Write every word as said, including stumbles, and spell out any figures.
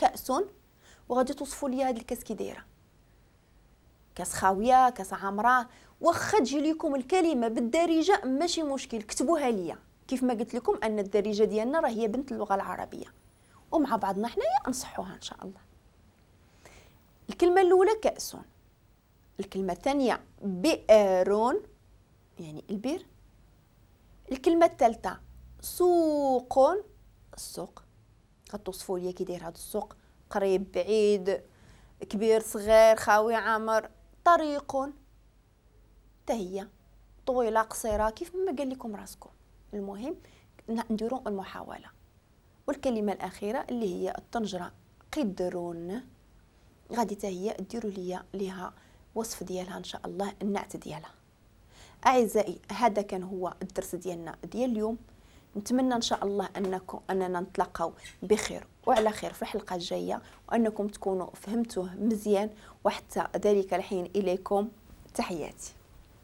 كأس، وغادي توصفوا لي هاد الكاس كي دايرة، كاس خاوية، كاس عامرة. واخا تجي لكم الكلمة بالدارجة ماشي مشكل، كتبوها ليا. كيف ما قلت لكم ان الدارجة ديالنا راه هي بنت اللغة العربية، ومع بعضنا حنايا نصحوها ان شاء الله. الكلمة الاولى كأس، الكلمة الثانية بئر يعني البئر، الكلمة الثالثة سوق، السوق. غتوصفوا لي كي داير هذا السوق، قريب بعيد، كبير صغير، خاوي عامر. طريق حتى هي طويلة قصيرة، كيف ما قال لكم راسكم. المهم نديروا المحاولة. والكلمة الاخيرة اللي هي الطنجره قدرون، غادي حتى هي ديروا لي ليها وصف ديالها ان شاء الله، النعت ديالها. اعزائي هذا كان هو الدرس ديالنا ديال اليوم. نتمنى ان شاء الله انكم اننا نتلاقاو بخير وعلى خير في الحلقة الجاية، وانكم تكونوا فهمتوه مزيان. وحتى ذلك الحين اليكم تحياتي.